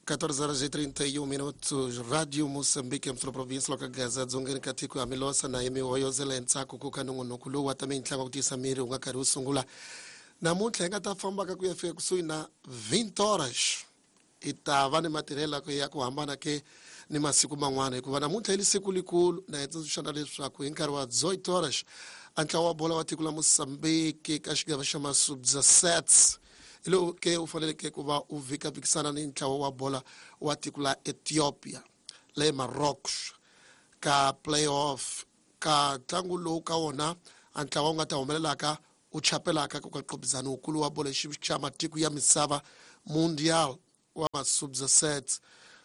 14 horas e 31 minutos. Rádio Moçambique, msolo província loka Gaza, dzongeni ka tiko ya Milosa na yimi hoyozela ntsako ku ka nongonoko lowu wa ta mintlangu ku tiyisa miri wu nga karhi wu sungula. Namuntlha hi nga ta fambaka ku ya fika kusuhi na 20 horas. Hi ta va ni matirhelo ya ku hambana ke ni masiku man'wana hikuva namuntlha i li siku likulu na hi tsundzuxana leswaku hi nkarhi wa 18 horas a ntlawa wa bola wa tiko la Mozambique ka xigava xa Masubza Sets hi lowu ke u faneleke ku va u vhikavhikisana ni ntlawa wa bola wa tiko la Ethiopia le Maroc ka playoff ka ntlangu lowu ka wona a ntlawa wu nga ta humelelaka u chapelaka ku ka nqopizano wukulu wa bolo xa matiko ya misava Mundial wa Masubza Sets,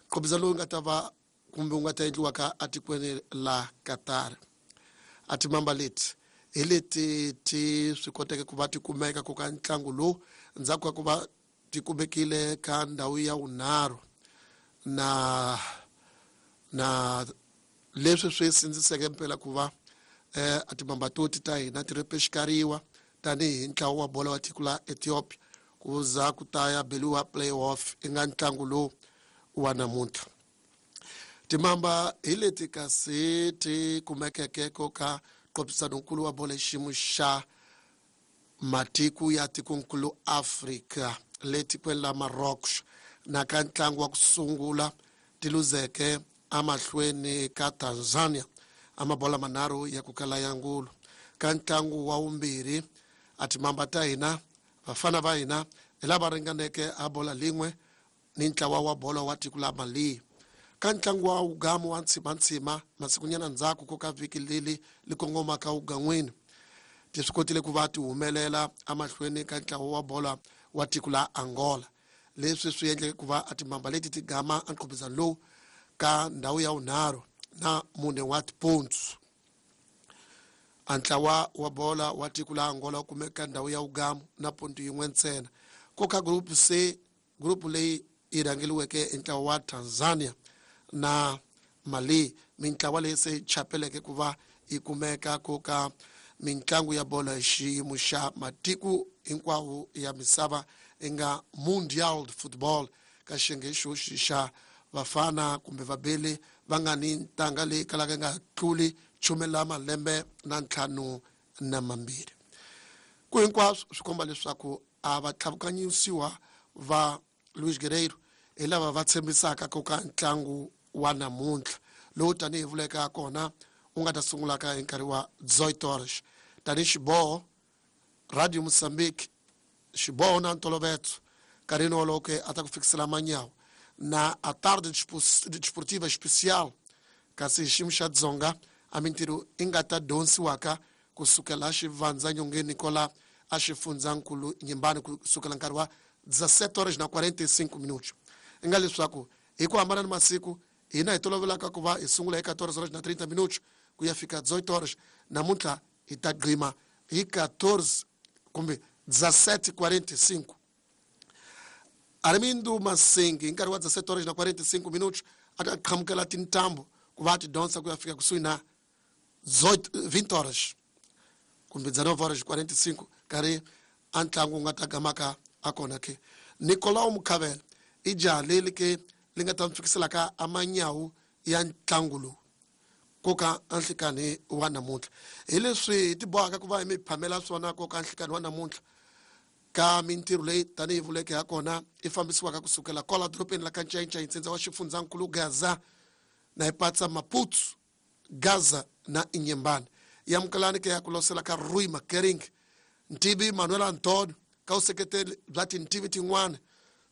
nqopizano lowu nga ta va kumbe wu nga ta endliwaka atikweni la Qatar. A timamba leti hi leti ti swi koteke ku va ti kumeka ku ka ntlangu lowu ndzhaku ka ku va ti kumekile ka ndhawu ya vunharhu na leswi swi sindziseke mpela ku va a timamba toti ta hina ti repexikariwa tanihi ntlawa wa bolo wa tiko la Ethiopia ku za ku ta ya beliwa playoff i nga ntlangu lowu wa namuntlha. Timamba hi leti kasi ti kumekeke ko ka nqophisanonkulu wa bolo xiyimo xa matiko ya tikonkulu Afrika le tikweni la Maroc na ka ntlangu wa ku sungula ti luzeke amahlweni ka Tanzania a mabola manharhu ya ku kala ya ngulu. Ka ntlangu wa vumbirhi a timamba ta hina vafana va hina hi lava ringaneke a bola lin'we ni ntlawa wa bolo wa tiko la Mali. Ka ntlangu wa wugamu wa ntshimantsima masikunyana ndzhaku ko ka vhiki leli li kongomaka wugan'wini ti swi kotile ku va ti humelela amahlweni ka ntlawa wa bola wa tiko la Angola. Leswi swi endleke ku va a timamba leti ti gama anqopizano lowu ka ndhawu ya vunharhu na mune wa tipontsu. A ntlawa wa bola wa tiko la Angola wu kumeka ndhawu ya wugamu na ponto yin'we ntsena. Ko ka group C, group leyi yi rhangeliweke hi ntlawa wa Tanzania na Mali, mintlawa leyi se chapeleke ku va yi kumeka ku ka mintlangu ya bolo hi xiyimo xa matiko hinkwawo ya misava yi nga Mundial de Football ka xiyenge xoxi xa vafana kumbe vabeli va nga ni ntanga leyi kalaka yi nga tluli chume la malembe na ntlhanu na mambirhi. Ku hinkwaswo swi komba leswaku a va tlhavukanyisiwa va Luis Guerreiro hi lava va tshembisaka ku ka ntlangu wa namuntlha lowu tanihi vuleka kona wu nga ta sungulaka hi nkarhi wa 18 horas. Tanihi xiboho Radio Mozambique xiboho na ntolovetso nkarhini wolowo ke a ta ku fikisela manyawu na a tarde desportiva especial kasi hi xiyimo xa Dzonga a mintirho i nga ta dyondzisiwaka kusukela xivandza nyongeni kola a xifundzankulu Nyimbani kusukela nkarhi wa 17 horas na 45 minutos. I nga leswaku hi ku hambana ni masiku hina hi tolovelaka ku va hi sungula hi 14 horas na 30 minutos ku ya fika 18 horas, namuntlha hi ta gqima hi 14 kumbe 17:45. Armindo Masengi hi nkarhi wa 17 horas na 45 minutos a ta qhamukela tintambu ku va ti dyondza ku ya fika kusuhi na 20 horas kumbe 19 horas 45 nkarhi a ntlangu wu nga ta gamaka a kona ke. Nicolau Mukhavela i jaha leri ke li nga ta mi fikiselaka a manyawu ya ntlangu lowu ko ka nhlikani wa namuntlha. Hi leswi hi ti bohaka ku va hi mi phamela swona ko ka nhlikani wa namuntlha ka mintirho leyi tanihi vuleke ha kona i fambisiwaka kusukela kwala dorobeni la ka NcayincayI ntsindza wa xifundzankulu Gaza na hi patsa Maputo, Gaza na Inhambane. Yamukelani ke ya ku losela ka Rui Makering, Ntivi Manuel Antonio ka vuseketeri bya tintivi tin'wana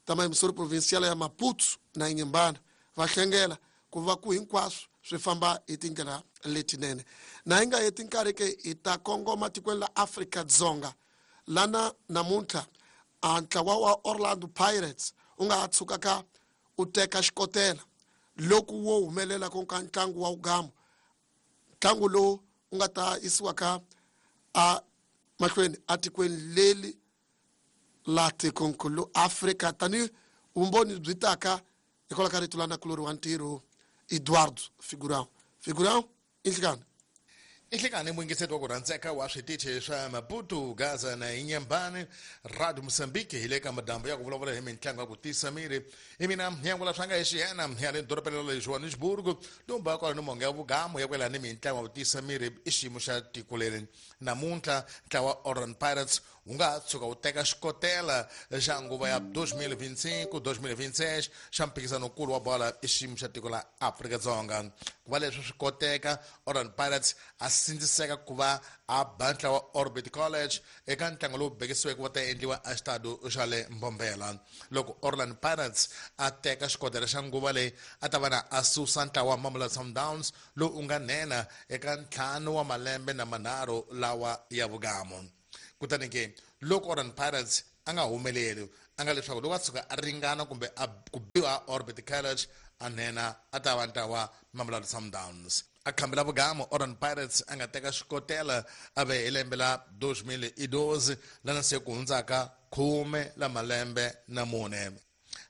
ta mayimisori provincial ya Maputo na Inhambane va hlengela ku va ku hinkwaswo swi famba hi tindlela letinene. Na hi nga heti nkarhi ke hi ta kongoma tikweni la Afrika-Dzonga lana namuntlha a ntlawa wa Orlando Pirates wu nga ha tshukaka u teka xikotela loko wo humelela ku ka ntlangu wa wugamu, ntlangu lowu wu nga ta yisiwaka a mahlweni atikweni leri la tikonkulu Afrika tanihi vumbhoni byi taka hikwalaho ka rito la nakulori wa ntirho Eduardo Figurão. Figurão i nhlikani. Inhlekani muyingiseti wa ku rhandzeka wa switichi swa Maputo, Gaza na Inyambani, Radio Mozambique, hi le ka madambu ya ku vulavula hi mitlangu ya ku tisa miri. Hi mina Nyangula swanga hi xiyena ya le dorobeni ra le Johannesburg, lumba kwala ni monga ya vugamu ya kwela ni mitlangu ya ku tisa miri i xiyimo xa tiko leri. Namuntlha ntlawa wa Orlando Pirates wu nga tshuka wu teka xikotela xa nguva ya 2025-2026 xa mphikizanokulu wa bola i xiyimo xa tiko la Afrika-Dzonga. Ku va leswi swi koteka, Orlando Pirates a sindziseka ku va a ba ntlawa wa Orbit College eka ntlangu lowu bekisiweke wa ta endliwa exitado xa le Mbombela. Loko Orlando Pirates a teka xikotela xa nguva leyi, a ta va na a susa ntlawa wa Mamelodi Sundowns lowu u nga nhenha eka 5 wa malembe na manharhu lawa ya vugamu. Kutani ke loko Orlando Pirates a nga humeleli, a nga leswaku loko a tshuka a ringana kumbe a ku biwa Orbit College, a nhenha a ta va ntlawa Mamelodi Sundowns. A khambela vugamu Orlando Pirates a nga teka xikotela a ve hi lembe la 2012, lana se ku hundzaka 10 la malembe na mune.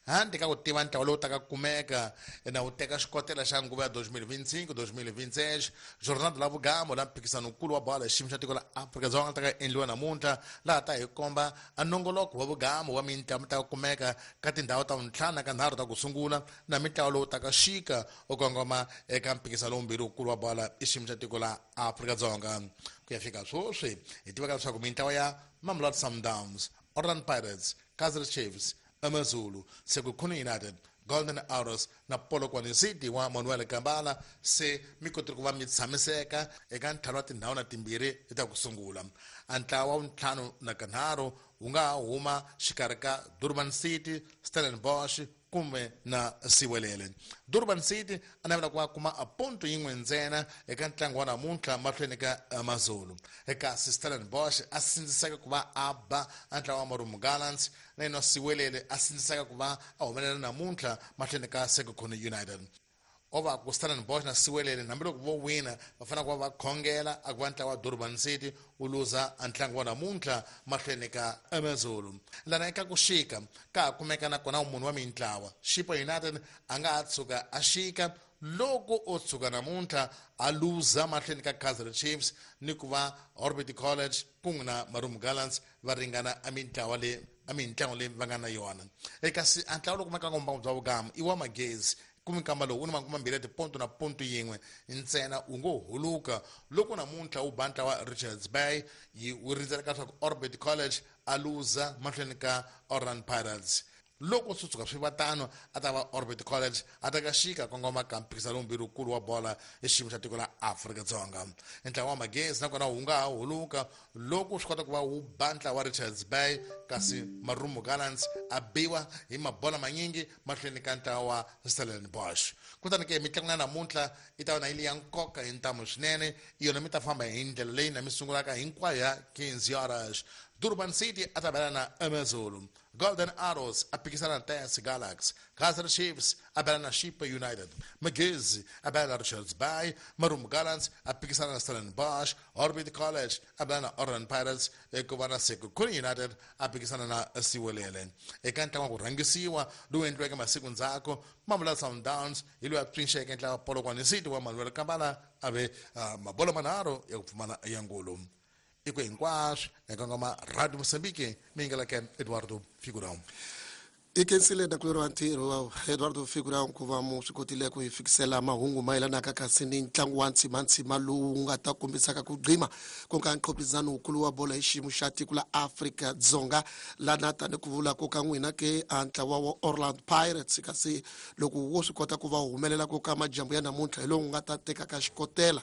Handle ka ku tiva ntlawa lowu taka kumeka na wu teka xikotela xa nguva ya 2025-2026, jornada la vugamu la mphikizanokulu wa bola xiyimo xa tiko la Afrika-Dzonga ta ka endliwa namuntlha, laha ta hi komba a nongoloko wa vugamu wa mitlangu ta kumeka ka tindhawu ta ntlhanu ka nharhu ta ku sungula na mitlawa lowu taka xika u kongoma eka mphikizano wumbirhi wukulu wa bola i xiyimo xa tiko la Afrika-Dzonga. Ku ya fika sweswi hi tivaka leswaku mintlawa ya Mamelodi Sundowns, Orlando Pirates, Kaizer Chiefs, Amazulu, Sekhukhune United, Golden Arrows na Polokwane City wa Manuel Kambala se mi kotile ku va mi tshamiseka eka ntlhanu wa tindhawu na timbirhi ta ku sungula. A ntlawa wa ntlhanu na kanharhu wu nga huma xikarhi ka Durban City, Stellenbosch kumbe na Siwelele. Durban City a navela ku va kuma a ponto yin'we ntsena eka ntlangu wa namuntlha mahlweni ka Amazulu. Kasi Stellenbosch a sindziseka ku va a ba a ntlawa wa Marumo Gallants, na yena Siwelele a sindziseka ku va a humelela namuntlha mahlweni ka Sekhukhune United. O va ku Stellenbosch na Siwelele hambiloko vo wina va fanele ku va va khongela a ku va ntlawa wa Durban City wu luza a ntlangu wa namuntlha mahlweni ka Amazulu. Lana eka ku xika ka ha kumeka na kona munhu wa mintlawa Chippa United a nga ha tshuka a xika loko o tshuka namuntlha a luza mahlweni ka Kaizer Chiefs ni ku va Orbit College kun'we na Marumo Gallants va ringana a mintlawa leyi a mintlangu leyi va nga na yona. Kasi a ntlawa lowu kumekaka mbangu bya vugamu i wa Magezi, kumbe nkamba lowu wu ni makume mambirhi ya tiponto na ponto yin'we ntsena, wu ngo huluka loko namuntlha wu ba ntlawa Richards Bay, yi wu rindzeleka leswaku Orbit College a luza mahlweni ka Orlando Pirates. Loko swi tshuka swi va tano, a ta va Orbit College a ta ka xika kongoma ka mphikizano wumbirhi wukulu wa bola hi xiyimo xa tiko la Afrika-Dzonga. Ntlawa wa Magezi nakona wu nga ha huluka loko swi kota ku va wu ba ntlawa wa Richards Bay, kasi Marumo Gallants a biwa hi mabola manyingi mahlweni ka ntlawa wa Stellenbosch. Kutani ke mitlangu ya namuntlha yi ta va na yi li ya nkoka hi ntamu swinene, yona mi ta famba hi ndlela leyi na mi sungulaka hinkwayo ya 15 horas. Durban City a ta bela na Amazulu, Golden Arrows a phikizana na TS Galaxy, Kaizer Chiefs a bela na Chippa United, Magezi a bela na Richards Bay, Marumo Gallants a phikizana na Stellenbosch, Orbit College a bela na Orlando Pirates, ku va na Sekhukhune United a phikizana na Siwelele. Eka ntlangu wa ku rhangisiwa lowu endliweke masiku ndzhaku, Mamelodi Sundowns hi loyi a pfinxeke ntlawa wa Polokwane City wa Manuel Kambala a ve mabolo manharhu ya ku pfumala ya ngulu. I ku hinkwaswo eka ngoma Radio Mozambique, mi yingeleke Eduardo Figurão. I khensile nakulorhi wa ntirho wa Eduardo Figurão ku va mu swi kotile ku hi fikisela mahungu mayelanaka kasi ni ntlangu wa ntshimantsima lowu nga ta kombisaka ku gqima ku nga nqhopizano wukulu wa bolo hi xiyimo xa tiko la Afrika-Dzonga, lana tani ku vula ku ka n'wina ke a ntlawa wa Orlando Pirates kasi loko wo swi kota ku va humelela ku ka majambu ya namuntlha hi lowu nga ta tekaka xikotela,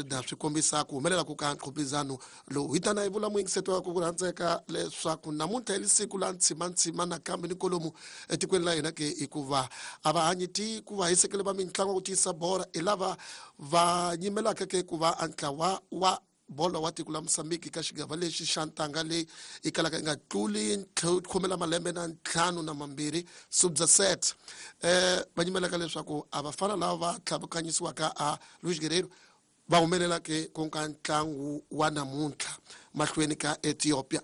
na swi kombisa ku humelela ku ka nqhopizano lowu. Hi tana hi vula muyingiseti wa ku rhandzeka leswaku namuntlha hi siku la ntshimantsima nakambe ni kolomu etikweni la hina ke, hikuva a va hanyi ti ku va hisekele va mitlangu ku tiyisa bora hi lava va nyimelaka ke ku va a ntlawa wa bolo wa tiko la Mozambique ka xigava lexi xa ntanga leyi yi kalaka yi nga tluli khume la malembe na ntlhanu na mambirhi sub-17, va nyimelaka leswaku a vafana lava va tlhavukanyisiwaka a Luis Guerreiro va humelela ke ku nga ntlangu wa namuntlha mahlweni ka Ethiopia.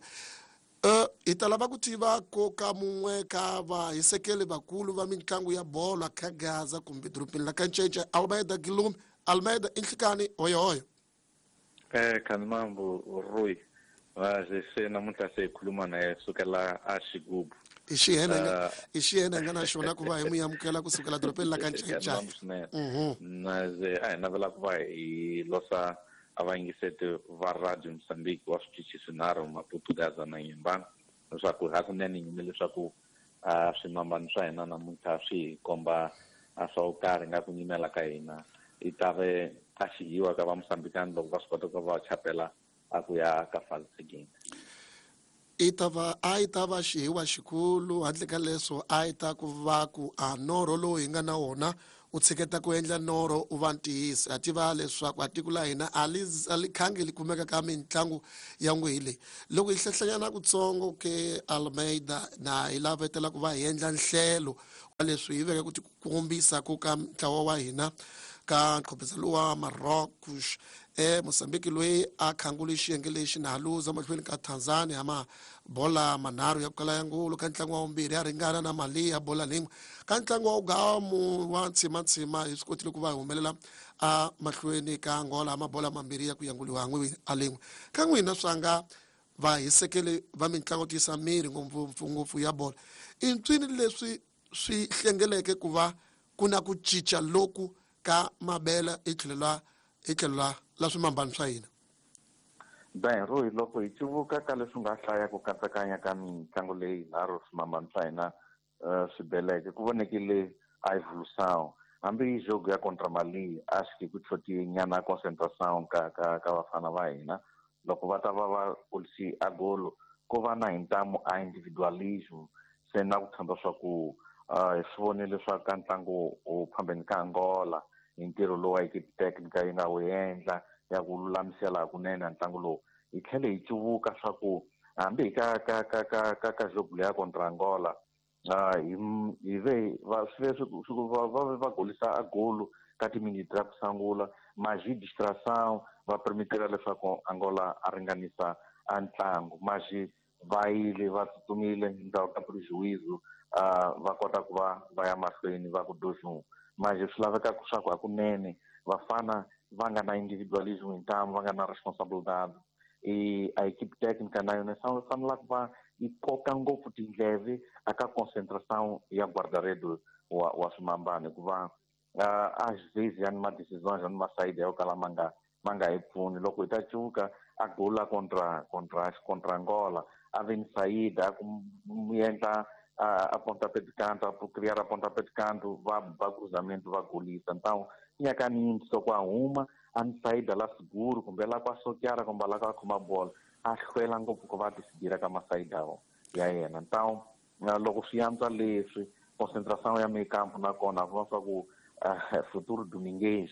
Hi ta lava ku tiva ko ka mun'we ka vahisekeli vakulu va mitlangu ya bolo ka Gaza kumbe dorobeni la ka Ncece, Almeida Gilumi. Almeida, i nhlikani, hoyohoyo. Khanimambu Rui se namuntlha se hi khuluma na ye sukela a Xigubu. I xihena i xihena nga na xona ku va hi mu amukela kusukela dorobeni la ka Ncayicayi. Na ze a hi navela ku va hi losa a vayingiseti va Radio Mozambique wa switichi swinharhu Maputo, Gaza na Inhambane leswaku hakunene nyime leswaku swimambano swa hina namuntlha swi hi komba swa ku karhi nga ku nyimela ka hina i ta ve a xihiwa ka va Mozambikani loko va swi kota ku va chapela a ku ya ka fase seguinte. I ta va a yi ta va xihiwa xikulu handle ka leswo a yi ta ku va ku a norho lowu hi nga na wona u tshiketa ku endla norho u va ntiyiso. Ha tiva leswaku a tiko la hina a li khangi li kumeka ka mitlangu ya n'wihi leyi. Loko hi hlehlanyana kutsongo ke Almeida na hi lavetela ku va hi endla nhlelo wa leswi hi veke ku tikombisa ku ka ntlawa wa hina ka nqhophisano wa Marocos Mozambique loyi a khangule xiyenge lexi na luza mahlweni ka Tanzania ma bola manharhu ya ku kala ya ngulu ka ntlangu wa vumbirhi ya ringana na Mali ya bola lin'we ka ntlangu wa ugamu wa ntsimantsima hi swi kotile ku va hi humelela a mahlweni ka Angola mabola mambirhi ya ku yanguliwa n'wi a lin'we. Ka n'wina swa nga vahisekeli va mitlangu tiyisa miri ngopfungopfu ya bola i ntswini leswi swi hlengeleke ku va ku na ku cinca loku ka mabela i tlhelo la swimambano swa hina. Ben Rui loko hi civuka ka leswi nga hlaya ku katsakanya ka mitlangu leyi nharhu swimambano swa hina swi beleke ku vonekile a evolução hambi jogo ya contra Mali a xi ku tlhoti nyana concentration ka ka ka vafana va hina loko va ta va va kulisi a golo ko va na hintamu a individualism se na ku tshemba swa ku hi swi vonile swa ka ntlangu wu phambeni ka Angola hi ntirho lowu a equipe technica yi nga wu endla ya ku lulamisela hakunene a ntlangu lowu. Hi tlhele hi cuvuka swa ku hambi hi ka ka ka ka ka ka jogo leya contra Angola hi ve va swi va va golisa a golo ka timiniti ta ku sungula maji distração va permitela leswaku Angola a ringanisa a ntlangu maji va yile va tsutsumile ndzhaku ka prejuízo va kota ku va va ya mahlweni va ku 2-1 maji swi laveka swa ku hakunene vafana va nga na individualism hintamu va nga na responsabilidade e a equipe técnica na yona fanela ku va yi koka ngopfu tindleve aka concentração ya guarda-redes wa swimambano hikuva às vezes ya ni ma-decisões ya ni masayidi ya yo kala ma nga hi pfuni. Loko hi ta cuka a gola contra Angola a ve ni sayida a ku endla a pontapé de canto a criar a pontapé de canto va ba cruzamento va golisa. Então nyaka ni soko a huma a ni sayida la seguro kumbe la kwa sokiara kumbe la kwa khoma bola a hlwela ngopfu ku va decidira ka masayida ya yena. Então loko swi antswa leswi concentração ya meio campo nakona va swa ku Futuro Domingues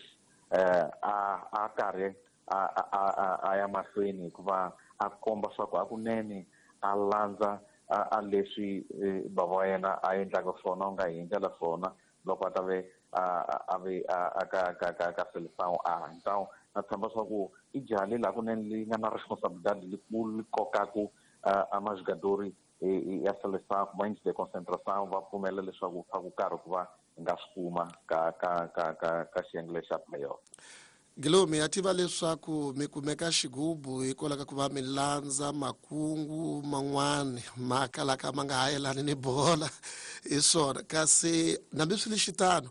a karhi a ya mahlweni hikuva a komba swa ku hakunene a landza a leswi bava wa yena a endlaka swona u nga hi endlela swona loko a ta ve a ve a ka ka ka ka seleção a. Então na tshemba swa ku i jaha leri hakunene li nga na responsabilidade likulu li kokaku a majogadori ya seleção kuma índice de concentração va pfumela leswaku swa ku karhi ku va hi nga swi kuma ka ka ka ka ka xiyenge lexa playoff. Guilherme, ya tiva leswaku mi kumeka xigubu hikwalaho ka ku va mi landza makungu man'wani ma kalaka ma nga ha yelani ni bola hi swona kasi hambi swi li xitano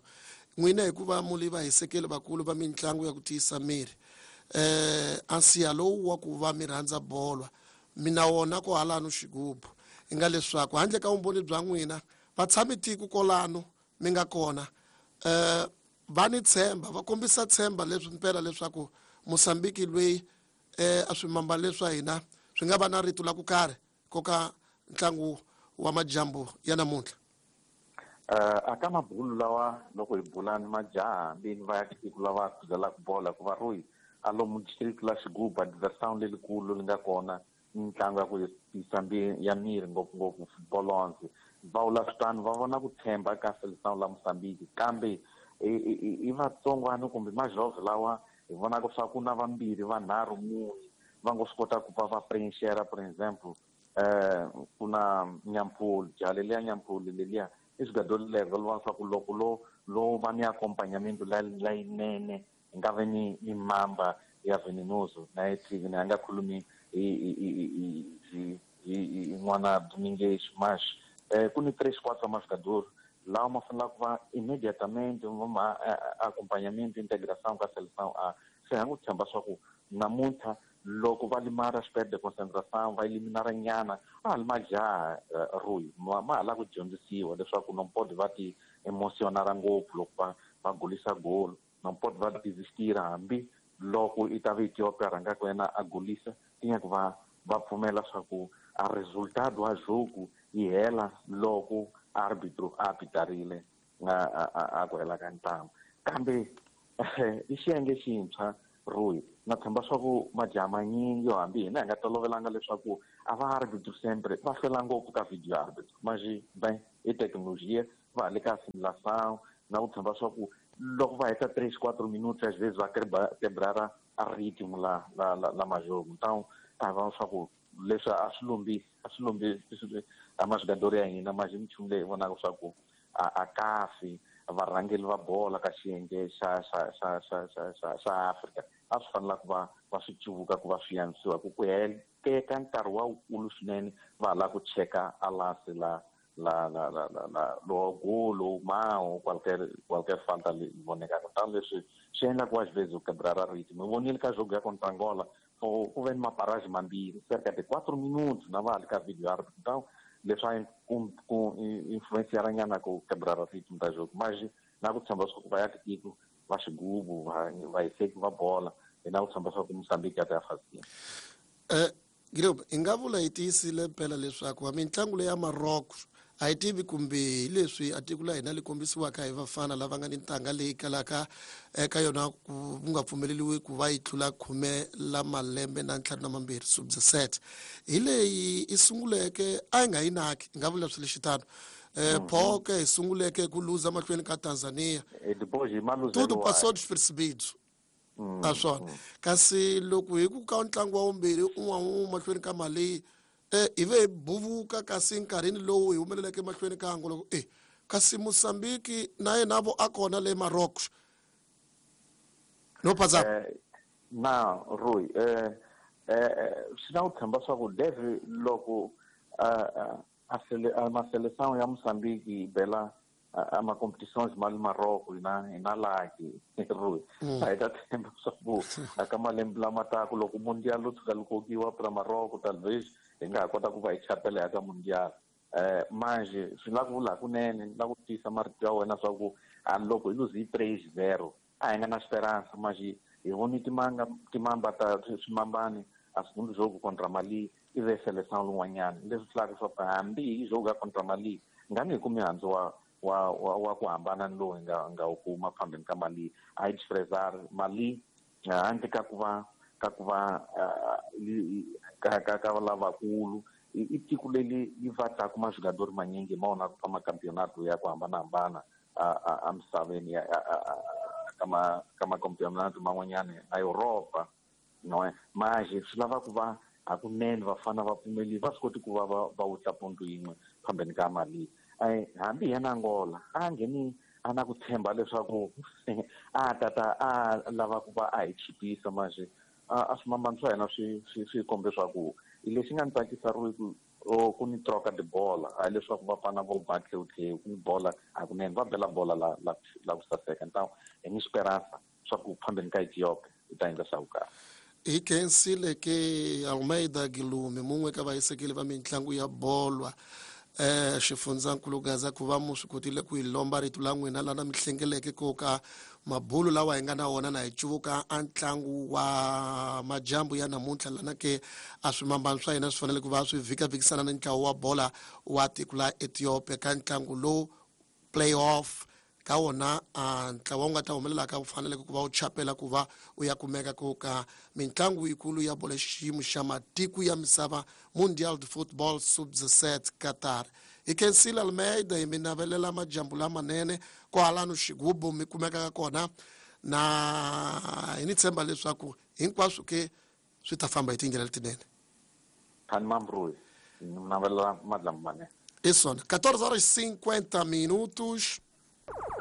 n'wina hikuva mu li vahisekeli vakulu va mitlangu ya ku tiyisa miri a nsiya lowu wa ku va mi rhandza bolwa mi na wona ko halano xigubu i nga leswaku handle ka vumbhoni bya n'wina vatshami tiko kolano mi nga kona va ni tshemba va kombisa tshemba leswi mpela leswaku Mozambique loyi a swimambano leswa hina swi nga va na rito la ku karhi koka ntlangu wa majambu ya namuntlha. Aka mabulu lawa loko hi bula ni majaha hambi va ya tiko lava khuzelaka bola hikuva Rui a lomu district la Xigubu a diversão lelikulu li nga kona mitlangu ya ku tiyisa ya miri ngopfungopfu football va vula switano va vona ku tshemba ka seleção la Mozambique kambe i vatsongwana kumbe majove lawa hi vonaka swa ku na vambirhi vanharhu mune va ngo swi kota ku va va preencher por exemple ku na Nyampulu jaha leliya Nyampulu leliya i swigadoli level va swa ku loko lo va ni accompagnamento layinene hi nga ve ni mamba ya Venenoso na yi tivi ni a nga khulumi hi n'wana Domingues, mas ku ni 3 4 majogador lawa ma fanelaka ku va imediatamente ma acompanhamento, integração ka seleção A. Se ha n'wi tshemba swa ku namuntlha loko va limara swi perde concentração, va eliminara nyana, a ha li majaha, Rui, ma ha lava ku dyondzisiwa leswaku non pode va ti emocionara ngopfu loko va golisa golo, non pode va desistira hambi loko i ta va Ethiopia rhangaka yena a golisa, tinyaku va pfumela swa ku a resultado wa jogo yi hela loko arbitro a apitarile a ku hela ka ntlangu. Kambe i xiyenge xintshwa, Rui, na tshemba swa ku majaha manyingi yo hambi hina hi nga tolovelanga leswaku a va arbitro sempre va hlwela ngopfu ka video arbitro, mas ben i tecnologia va ha le ka assimilação. Na ku tshemba swa ku loko va heta 3 4 minutos, às vezes va quebrara a ritmo la majogo. Então a va swa ku leswi a swi lombi a majogador ya hina, mas i minchumu leyi vonaka swa ku a kahle varhangeli va bola ka xiyenge xa Afrika a swi fanela ku va swi cuvuka ku va swi yanisiwa ku teka nkarhi wa wukulu swinene va ha lava ku cheka a lance la lo golo mao qualquer falta li vonekaka. Tano leswi swi endla ku às vezes u quebrar a ritmo. Hi vonile ka jogo ya contra Angola, ku ve ni maparage mambirhi, cerca de 4 minutos na va ha li ka video árbitro. Então leswi a ku influenciara nyana ku quebrar a ritmo ta jogo, mas na ku tshemba swa ku va ya tiko va xigubu vahiseki va bola, hi na ku tshemba swa ku Mozambique ya ta ya fazini. Guilherme, hi nga vula hi tiyisile mpela leswaku mitlangu leyi ya Maroc a yi tivi kumbe hi leswi a tiko la hina li kombisiwaka hi vafana lava nga ni ntanga leyi kalaka eka yona ku nga pfumeleriwi ku va yi tlula 12 sub-17, hi leyi i sunguleke a yi nga yi naki, hi nga vula swi lexitano poke hi sunguleke ku luza mahlweni ka Tanzania. Depois hi Tudo passou despercebido a swona, kasi loko hi ku ka ntlangu wa vumbirhi un'wana mahlweni ka Mali, hi ve hi buvuka, kasi nkarhini lowu hi humeleleke mahlweni ka Angola kasi Mozambique na yena vo a kona le Maroc no pasa. Na Rui, swi na ku tshemba swa ku deve loko a ma seleção ya Mozambique yi bela a ma competições ma le Maroc, hina lucky, Rui. A hi ta tshemba swa ku a ka malembe lama taku loko mundial lo tshuka li kokiwa pra Maroc, talvez hi nga ha kota ku va hi chapela ya ka mundial. Manje swi la ku vula hakunene ni la ku tiyisa marito ya wena swa ku a loko hi luze hi 3-0 a hi nga na esperança, mas hi voni timanga timamba ta swimambani a segundo jogo contra Mali i ve seleção lun'wanyana, leswi vulaka swa ku hambi hi jogo ya contra Mali nga ni hi kumi mihandzu wa ku hambana ni lowu hi nga wu kuma phambeni ka Mali. A hi desprezar Mali handle ka ku va ka lavakulu, i tiko leri yi vatlaku majogador manyingi ma wona ka macampeonato ya ku hambanahambana a misaveni ya ka macampeonato man'wanyana a Europa, no mas swi lava ku va hakunene vafana va pfumeli va swi koti ku va wutla ponto yin'we phambeni ka Mali. Hambi yena Angola a ngheni a na ku tshemba leswaku a tata a lava ku va a hi chipisa, manje a swimambano swa hina swi kombe swa ku lexi nga ni tsakisa ri ku ku ni troca de bola, hayi leswaku vafana vo ba tlhewutlhewu, ku ni bola hakunene, va bela bola la ku saseka. Então hi ni esperança swa ku phambeni ka Ethiopia hi ta endla swa ku kahle. Hi khensile ke Almeida Gilume, mun'we ka vahisekeli va mitlangu ya bolwa xifundzankulu Gaza, ku va mu swi kotile ku hi lomba rito la n'wina lana mi hlengeleke ko ka mabulu lawa hi nga na wona na hi cuvuka a ntlangu wa majambu ya namuntlha lana ke a swimambano swa hina swi fanele ku va swi vhikavhikisana ni ntlawa wa bola wa tiko la Ethiopia ka ntlangu lowu playoff ka wona a ntlawa wu nga ta humelelaka wu faneleke ku va wu chapela ku va u ya kumeka ku ka mitlangu yikulu ya bolo xiyimo xa matiko ya misava, Mundial de Football Sub-17 Qatar. Hi khensile Almeida, hi mi navelela majambu lamanene kwahalano xigubu mi kumekaka kona, na hi ni tshemba leswaku hinkwaswo ke swi ta famba hi tindlela letinene. Khani Mambrui, ni navelela madlambu manene. I swona, 14 horas 50 minutos.